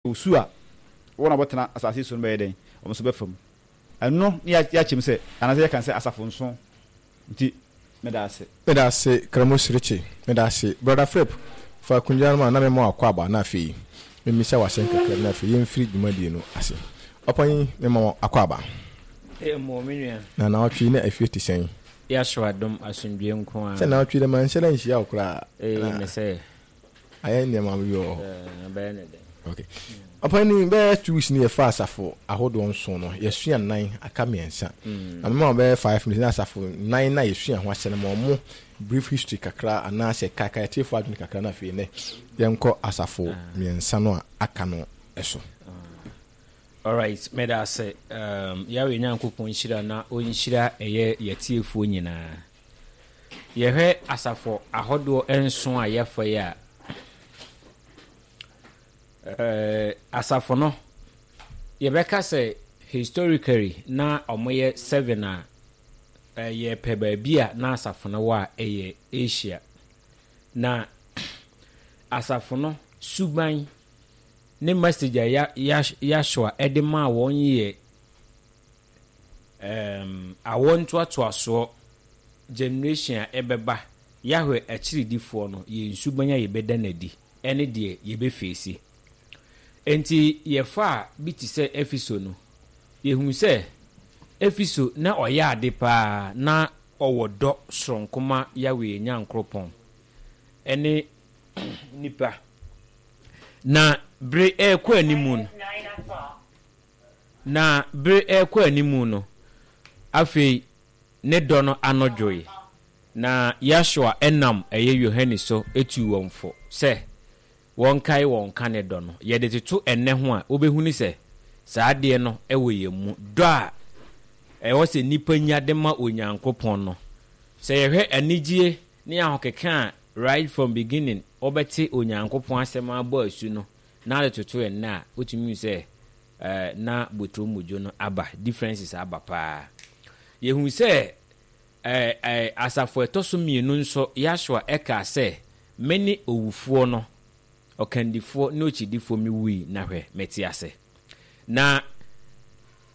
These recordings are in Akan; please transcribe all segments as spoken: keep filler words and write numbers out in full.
Osu a wɔn a wɔtena asase so no bɛyɛ dɛn? Wɔn nso bɛfa mu. Ɛno ne yɛakyɛm sɛ anaasɛ yɛka sɛ asafo nson. Nti meda ase. Meda ase, Kramo Sirikyi. Meda ase. Brother Philip, fa akonnwa no ma na mema wakɔ aba, na afei memmisa w'asɛm kakra bi, na afei yɛmfiri dwumadie no ase. Ɔpanyin, mema wo akɔ aba. Mmɔ me nua. Na naawɔtwe na afie te sɛn? Yɛaso adom, asomdwe nko a. Sɛ naawɔtwe dɛ manhyɛ da nhyia wo koraa. Ee, me sɛ. Ayɛ nneɛma bi wɔ hɔ. Ɛbɛyɛ ne dɛn. Okay. Ɔpanyin, bɛyɛ two weeks ni yɛfa asafo ahodoɔ nson no, yɛsua nnan, aka mmiɛnsa. Na mema wo bɛyɛ five minutes na asafo nnan na yɛsua ho asɛm no, ma ɔmo brief history kakra anaasɛ kaakae atiefoɔ adwene kakra, na afei nɛ yɛnkɔ asafo mmiɛnsa no a aka no so. Alright, meda ase. um, Yahweh Nyankopɔn nhyira na ɔnhyira ɛyɛ yɛtiefoɔ nyinaa. Yɛhwɛ asafo ahodoɔ nson a yɛfa yi a, uh, asafo no yɛbɛka sɛ historically na ɔmoyɛ seven a uh, yɛpɛ baabi a na asafo no wɔ a, ɛyɛ Asia. Na asafo no suban ne message a ya, ya, Yahshua ɛde maa wɔn yɛ um, awɔ ntoatoasoɔ, generation a ɛbɛba, Yahweh akyiridifoɔ no, yɛn suban a yɛbɛda n'adi ɛne deɛ yɛbɛfeesi. Nti yɛfa a bi te sɛ Efeso no, yɛhu sɛ Efeso na ɔyɛ ade paa, na ɔwɔ dɔ soronko ma Yahweh Nyankoropɔn ɛne nipa. Na bere ɛrekɔ anim no na bere ɛrekɔ anim no afei ne dɔ no ano dwoe, na Yahshua ɛnam ɛyɛ Yohane so etu wɔn fo sɛ wɔnkae wɔn ka ne dɔ no. Yɛde toto ɛnɛ ho a, wobɛhunu sɛ saa adeɛ no ɛwɔ yɛn mu, dɔ a ɛwɔ sɛ nnipa nya de ma Onyankopɔn no. Sɛ yɛhwɛ anigye ne ahokeka a right from beginning wɔbɛte Onyankopɔn asɛm abɔ asu no na ade toto ɛnnɛ a, wotumi hu sɛ ɛɛ na botoromodwo no aba, differences aba paa. Yɛhu sɛ ɛɛ ɛɛ asafo ɛtɔ so mmienu nso, Yahshua ɛka sɛ, "Mene owufoɔ no, ɔkandifoɔ ne okyidifoɔ. Mi wui, na hwɛ, mete ase." Na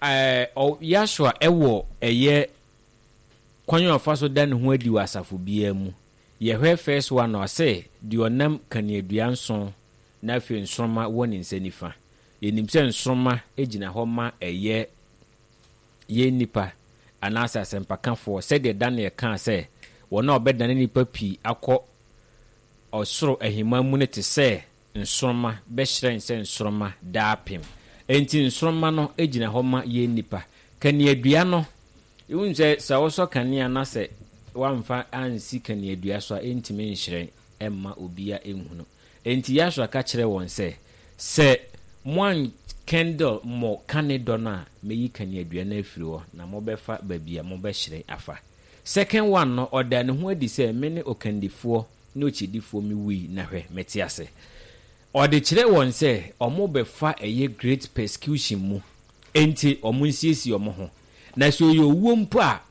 ɛɛ ɔ Yahshua ɛwɔ ɛyɛ kwan a ɔfa so da ne ho adi wɔ asafo biara mu. Yɛhwɛ first one na ɔsɛ deɛ ɔnam kaneadua nson na afei nsoroma wɔ ne nsa nifa. Yɛnim sɛ nsoroma gyina hɔ ma ɛyɛ yɛn nipa anaasɛ asɛmpakafoɔ, sɛdeɛ Daniel kaa sɛ wɔn a ɔbɛdane nipa pii akɔ ɔsoro ahemman mu no te sɛ nsoroma, bɛhyerɛn sɛ nsoroma daapem. Enti nsoroma no gyina hɔ ma yɛn nipa. Kaneadua no, ehu sɛ sɛ wɔsɔ kanea na sɛ wamfa ansi kaneadua so a, ɛntumi nhyerɛn ɛmma obia nhunu. Enti Yahshua ka kyerɛ wɔn sɛ sɛ moan kindle mo kane dɔ no a, mɛyi kaneadua no afiri hɔ na mobɛfa baabi a mobɛhyerɛn afa. Second one no, ɔda ne ho adi sɛ, "Me ne ɔkandifoɔ ne okyidifoɔ. Me wui, na hwɛ, mete ase." Ɔde kyerɛ wɔn sɛ ɔmo bɛfa ɛyɛ great persecution mu, enti ɔmo nsiesie ɔmo ho, na sɛ ɔyɛ owuo mpo a,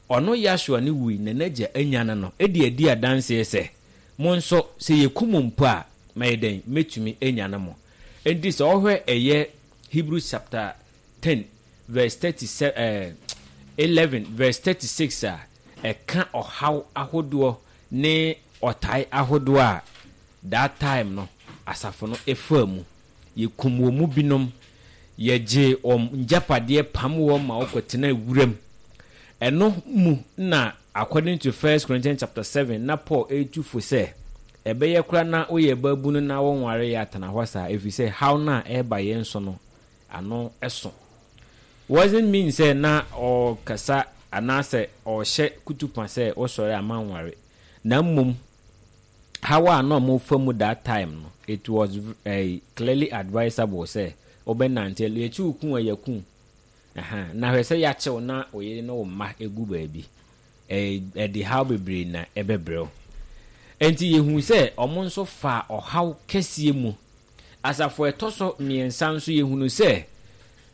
ɔno Yahshua ne wui na n'agya anya no no ɛde adi adanseɛ sɛ mo nso sɛ yɛkum mpo a, mɛyɛ dɛn? Mɛtumi anya no mo. Enti sɛ ɔhwɛ ɛyɛ Hebrews chapter ten verse thirty-seven, eh, eleven verse thirty-six a, ɛka ɔhaw ahodoɔ ne ɔtae ahodoɔ a that time no asafo no ɛfaa mu. Yɛkum wɔ mu binom, yɛgye wɔn ngyapadeɛ, pam wɔn ma wɔkɔtena wuram. Ɛno mu na according to First Corinthians chapter seven na Paul ɛretu fo sɛ ɛbɛyɛ kora na woyɛ baabunu na wɔnware yɛ atena hɔ saa, ɛfiri sɛ haw no a ɛreba yɛn so no ano ɛso. Wasn't mean sɛ na ɔkasa anaasɛ ɔhyɛ kutupa sɛ wosɔre ama nware, na mmom haw a na ɔmo fa mu that time no, it was uh, clearly advisable sɛ wobɛnante yɛkyi wo ku a yɛku. Na hwɛ sɛ yɛakyɛw na oyere ne wo mma egu baabi, ɛde haw bebree na ɛbɛbrɛw. Nti yɛhu sɛ ɔmo nso fa ɔhaw kɛseɛ mu. Asafo ɛtɔ so mmiɛnsa nso, yɛhunu sɛ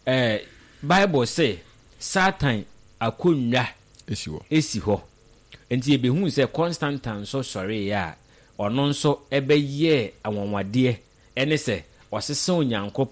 ɛɛ Bible sɛ Satan akonnwa esi hɔ. Esi hɔ. Nti yɛbɛhu sɛ Constantine nso sɔreeɛ a, ɔno nso ɛbɛyɛɛ anwanwadeɛ, ɛne sɛ Ɔsesa Onyankopɔn.